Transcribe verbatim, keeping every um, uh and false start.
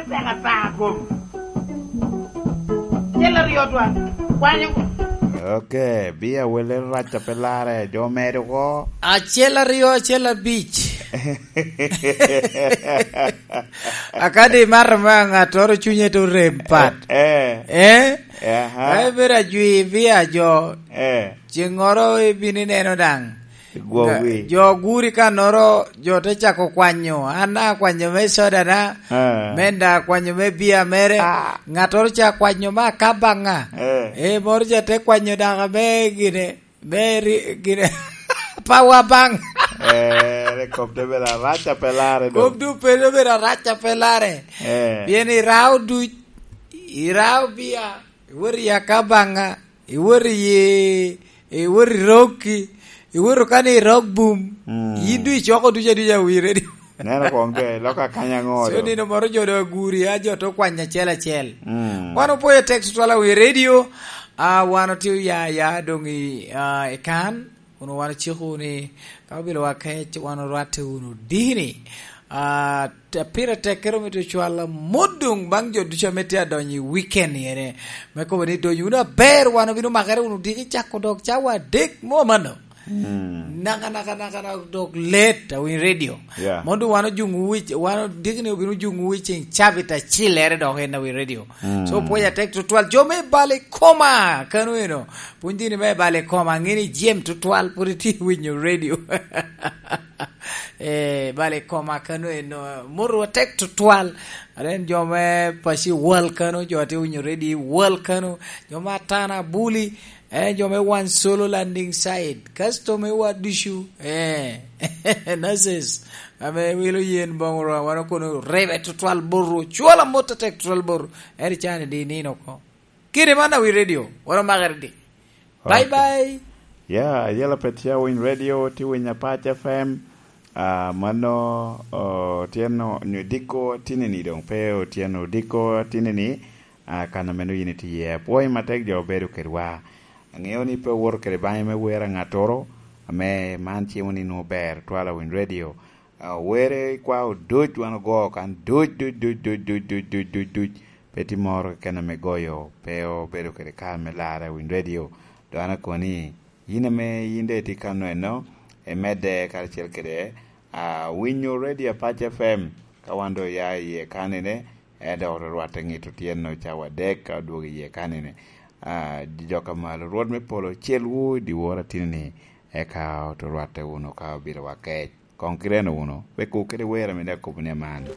Tek ata kom. Cel aryo twan. Kwanyo. Ok, bia wele rac a pe lare, jo medo ko. Acel aryo, acel abic. Akadi mar ma ŋattoro cunye to rem pat. Eh. Eh? Aha. Ai, bera jwi bia jo. Eh. Cengoro ibini neno daŋ. Gwowi. Nga-, jo guri kanoro, jo te cako kwanyo. An akwanyo me soda na, ah, men da akwanyo me bia mere. Ah. Ŋattoro ca kwanyo me akabaŋa. Eh. Eh, moro ca te kwanyo daka me gine, me ri-, gine, power bank. Eh, re kop te bedo arac a pe lare do. Kop du pe te bedo arac a pe lare. Eh. Pien irao duc, irao bia, iwot i akabaŋa, iwot i, iwot i rokki, iwot ka ni i rok bum, mm, yin du icoko duc aduc a wi redio. Neno koŋ ke, lok akanya ŋo so do? Nino moro jo do aguri, a jo to kwany acel acel. Mm. Wan opwoyo tek tutwal a wi redio, a wan otye oya ya doŋ i, a, i kan, kun wan ociko ni, ka obilo wa kec, wan orwatte wunu dini. Ah, te-, pire tek kere omito cwal amot doŋ baŋ jo ducu ame tye adonyo i weekend ene. Me kobo ni dony wunu aber, wan obino makere wunu diki cako dok cawa adek mo mano. Mm. Naka, naka, naka, naka, dok let, awiny radio. Yeah. Mondo wan ojuŋ wi-, wan diki ni obino juŋ wi ceŋ cabit acilere dok en awiny radio. Mm. So, pwoc atek tutwal. Jo me bal i koma, kano eno. Pwony dini me bal i koma, ŋeni jem tutwal, pwod itye winyo radio. Eh, bale koma kano eno, moto atek tutwal. Aren jo me paci wal kano, jo ate winyo ready wal kano, jo me Atana Buli, eh, jo me Wan Solo Landing Site, kasto me wa ducu, eh, nurses, ame wilo yen boŋo rwa, wan okono rebe tutwal boto, cwala mot atek tutwal boto, eri cani di nino ko. Kede man awi radio, wan omakere di. Bye, okay, bye. Ya, yela pet ya winy radio, ti winy Apac F M. Ah, mano, oh, tyen o-, nyo diko tinini doŋ pe otyeno diko tinini, ah, kan a meno yin itye iye. Apwoyi matek jo obedo kedwa. Aŋeo ni pe owoto kede baŋe me wer a ŋattoro, ame man cimo ni nwoŋo ber twal a winy radio. Ah, were ikwao duc wan ogo kan duc, duc, duc. Pe tye moro keken ame goyo, pe obedo kede kare me larre i winy radio. Dok an akoni, yin ame yin daŋ itye kano eno, imedde karacel kede, ah, winyo Radio Apac F M, ka wan doŋ oya iye kanene, en dok orwatte ŋito tyen-nu cawa adek ka odwogo iye kanene. Ah, jok a malo, Rwot me polo, celwu i dyewor atinni, eka oto rwatte wunu ka obilo wa kec. Koŋ kireno wunu, wek wu kede wer ame daŋ kobo ni aman.